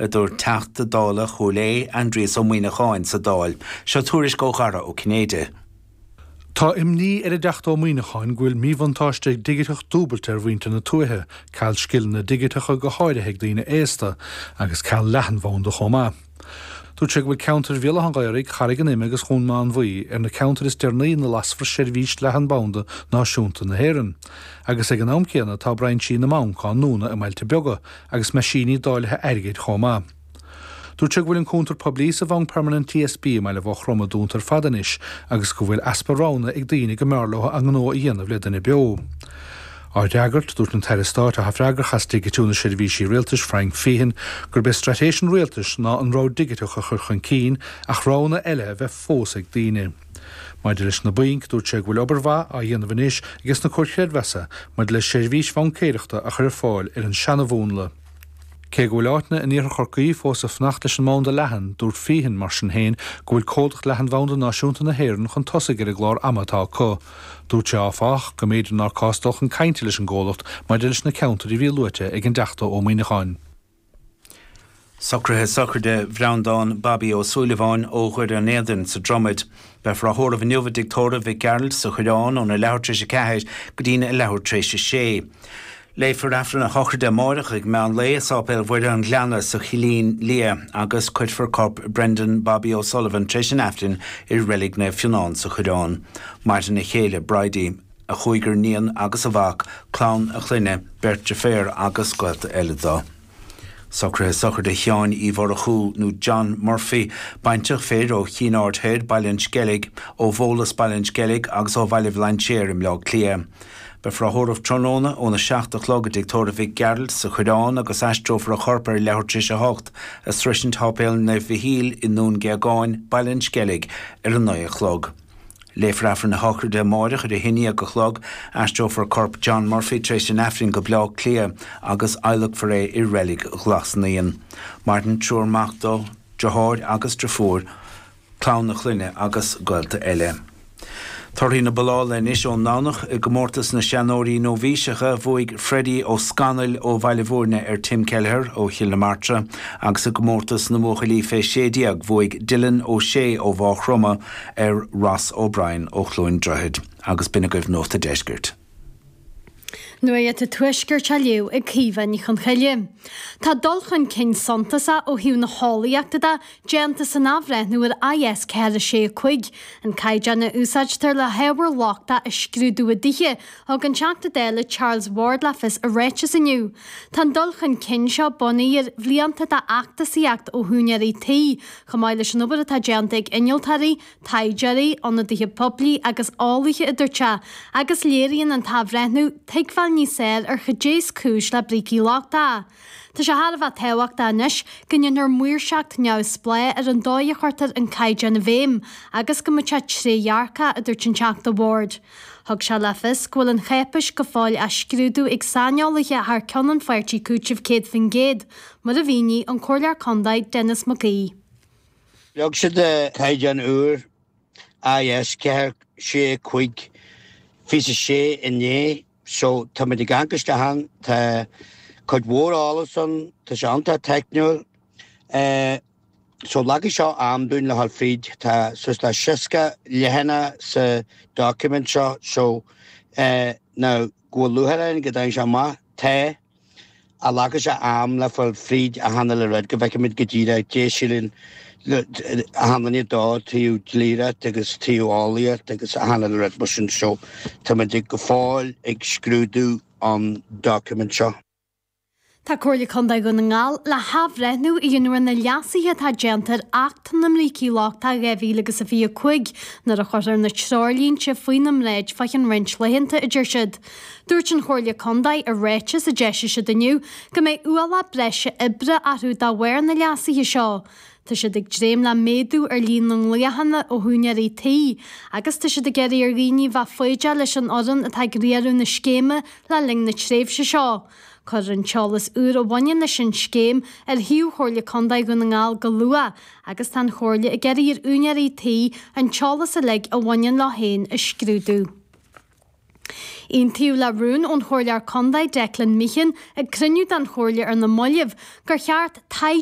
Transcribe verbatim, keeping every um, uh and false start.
a dúirt Teachta Dála Chúil Aodha Aindrias Ó Muimhneacháin sa Dáil, seo tuairisc ó Dhara Ó Cinnéide. Tá imní ar an dTeachta Ó Muimhneacháin go bhfuil míbhuntáiste digiteach dúbailte ar mhuintir na tuaithe, ceal scileanna digiteacha go háirithe ag daoine aosta, agus ceal leathanbhanda chomh maith. Dúirt sé go bhfuil ceantair Bhéal Átha an Ghaorthaidh, Charraig an Ime agus Dhún Mánmhaí ar na ceantair is deireanaí ina lasfar seirbhís leathanbhanda náisiúnta na hÉireann. Agus ag an am céanna tá brainsí na mbanc á ndúnadh i mbailte beaga agus meaisíní dáilithe airgid chomh maith. Dúirt sé go bhfuil an cuntar poiblí sa Bhanc Permanent TSB i mBaile Bhachroma dúnta ar fad anois agus go bhfuil easpa roghanna ag daoine go mb'fhearr leo a ngnó a dhéanamh le duine beo. Á fhreagairt dúirt an tAire Stáit atá freagrach as digitiú na seirbhísí rialtais Frank Feighan gurb é straitéis an rialtais ná an rogha digiteach a chur chun cinn ach roghanna eile a bheith fós ag daoine. Maidir leis na bainc dúirt sé go bhfuil obair mhaith á dhéanamh anois aige na comhair chreidmheasa maidir le seirbhís bhaincéireachta a chur ar fáil ar an seanamhúnla. Cé go bhfuil áiteanna in iarthar Chorcaí fós ag fanacht leis an mbanda leathan, dúirt Feighan mar sin féin go bhfuil Comhlacht Leathanbhanda Náisiúnta na hÉireann chun tosaigh ar an gclár ama atá acu. Dúirt sé áfach go mb'fhéidir nár cás dul chun cainte leis an gcomhlacht maidir leis na ceantair a bhí luaite ag an dTeachta Ó Muimhneacháin. Socruithe sochraide Bhreandán Bobby Ó Súilleabháin ó Dhoire an Éadain sa Dromaid. Beifear á thórramh inniu i dTigh Tórraimh Mhic Gearailt sa Choireán óna leathuair tar éis a ceathair go dtína leathuair tar éis a sé. Léifear Aifreann a shochraide amárach ag meán lae i Sáipéal Mhuire an Ghleanna sa Chillín Liath agus cuirfear corp Brendan Bobby O'Sullivan tar éis an Aifrinn i Reilig Naomh Fionnán sa Choireán. Maireann a chéile Bridie, a chúigear níon agus a mhac, clann a chlainne, beirt deirféar agus gaolta eile dó. Socruithe sochraide Sheáin Uí Mhurchú nó John Murphy, baintreach fir ó Chinn Aird Thoir, Baile an Sceilg, ó Bhólas Baile an Sceilg agus ó Bhaile Bhlainséir i mBleá Cliath. Beifear á thórramh tráthnóna óna seacht a chlog i dTigh Tórraimh Mhic Gearailt sa Choireán agus aistreofar a chorp ar leathuair tar éis a hocht a sroisint Shéipéal Naomh Mhichíl i nDún Géagáin, Baile an Sceilg ar a naoi a chlog. Léifear Aifreann a shochraide amárach ar a haon déag a chlog, aistreofar corp John Murphy tar éis an Aifrinn go Bleá Cliath agus adhlacfar é i reilig Ghlas Naíon. Maireann triúr mac dó, deartháir agus deirfiúr, clann a chlainne agus gaolta eile. Torthaí na bollála anois ón nDomhnach i gcomórtas na seanóirí nóibhíseacha bhuaigh Freddie Ó Scanaill ó Bhaile Bhúirne ar Tim Kelleher ó Chill na Martra agus i gcomórtas na mbuachaillí fé sé déag bhuaigh Dylan Ó Sé ó Mhaigh Chromtha ar Ross O'Brien ó Chluain Droichead agus b'in agaibh Nuacht an Deiscirt. Nuacht an Tuaiscirt á léamh ag Caoimhe Ní Chonchoille. Tá dul chun cinn suntasach ó thaobh na heolaíochta de déanta san athbhreithniú ar IS ceathair sé a cúig, an caighdeán a úsáidtear le hábhar lochtach a scrúdú i dtithe, thug an Teachta Dála Charles Ward le fios i ráiteas inniu. Tá an dul chun cinn seo bunaithe ar bhlianta d'fheachtasaíocht ó húinéirí tí, chomh maith leis an obair atá déanta ag innealtóirí, taighdeoirí, ionadaithe poiblí agus eolaithe a dúirt sé, agus léiríonn an t-athbhreithniú tuigbheáil níos fearr ar cad é is cúis le brící lochtacha. Tá sé thar a bheith tábhachtach anois go ndéanfar maoirseacht neamhspleách ar an dóigh a chuirtear an caighdeán i bhfeidhm agus go mbeidh sé trédhearcach, a dúirt an Teachta Ward. Thug sé le fios go bhfuil an cháipéis go fóill á scrúdú ag saineolaithe thar ceann an pháirtí Cúiteamh céad faoin gcéad, mar a mhínigh an Comhairleoir Contae Denis Mac Aoidh. Leag siad caighdeán úr IS ceathair sé cúig fiche sé inné so táimid ag amharc isteach ann tá cuid mhór eolas ann tá sé iontach teicniúil so leagfaidh seo am dúinn le dhul fríd tá suas le seasca leathanach sa document seo so now go bhfuil lúcháir orainn go dtagann sé amach tá ach glacfaidh sé am le fáil fríd achan uile rud go bhfeicfimid go díreach dé síleann achan duine dó taobh dlíocht agus taobh eolaíocht agus achan uile rud mar sin so táimid go fóill ag scrúdú an document seo. Tá Comhairle Contae Dhún na nGall le hathbhreithniú a dhéanamh ar na leasuithe atá déanta ar Acht na mBrící Lochtacha dhá mhíle agus a fiche a cúig nuair a chuirfear na treoirlínte faoina mbráid fá cheann roinnt laethanta, a deir siad. Dúirt an Chomhairle Contae i ráiteas a d'eisigh siad inniu go mbeidh ualach breise oibre orthu de bharr na leasuithe seo. Tá siad ag dréim le méadú ar líon na nglaochanna ó húinéirí tí agus tá siad ag iarraidh ar dhaoine bheith foighdeach leis an fhoireann atá ag riaradh na scéime le linn na tréimhse seo. Cuirfear an t-eolas úr a bhaineann leis an scéim ar shuíomh Chomhairle Contae Dhún na nGall go luath agus tá an Chomhairle ag iarraidh ar úinéirí tí an t-eolas uilig a bhaineann leo féin a scrúdú. Aontaíodh le rún ón Chomhairleoir Contae Declan Meehan ag cruinniú den Chomhairle ar na mallaibh gur cheart taighde